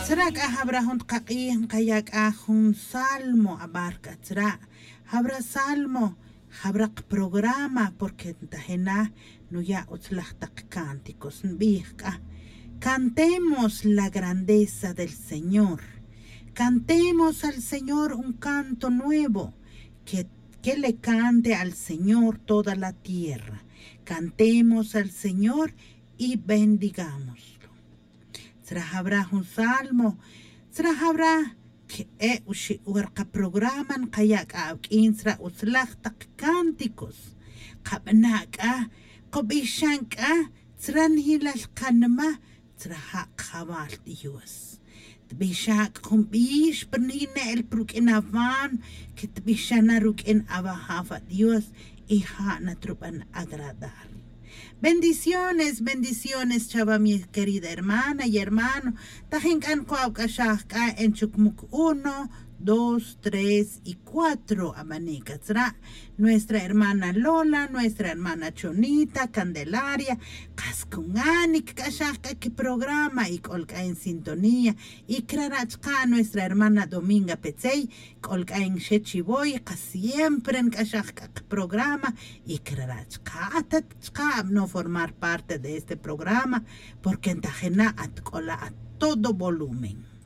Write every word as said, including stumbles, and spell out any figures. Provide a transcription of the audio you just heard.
Tzra' c'a jabra jun takak'ij nkaya' c'a jun salmo abar c'a tzra'. Jabra salmo jabra kaprograma porque ntajina nuya' utzlaj tak cánticos nbij c'a: Cantemos la grandeza del Señor. Cantemos al Señor un canto nuevo, que, que le cante al Señor toda la tierra. Cantemos al Señor y bendigámoslo. Tzra jabra jun salmo, tzra jabra que e uxi' wer kaprograma nkaya' c'a awq'uin tzra utzlaj tak cánticos. Kabana' c'a, kobixan c'a tzra njilal kanma tzra ja' kajawal dios. Tbixa' c'a jun bix pa rnine'l pa ruq'uin awan, que tbixa' na ruq'uin awajaw adios y ja' na truban agradar. Bendiciones, bendiciones chawa mi querida hermana y hermano. Tajin c'a nkuaw c'axaj c'a en chucmuc uno, dos, tres y cuatro abani' c'a tzra'. Nuestra hermana Lola, nuestra hermana Chonita, Candelaria, kas cunganic c'axaj c'a quiprograma y c'ol c'a en sintonía. Y crara' chka' nuestra hermana Dominga Petzey, c'ol c'a en Xechivoy, kas siempre nc'axaj c'a kiprograma. Y crara' chka' atat chka' abano formar parte de este programa, porque ntajina' atc'ola' a todo volumen.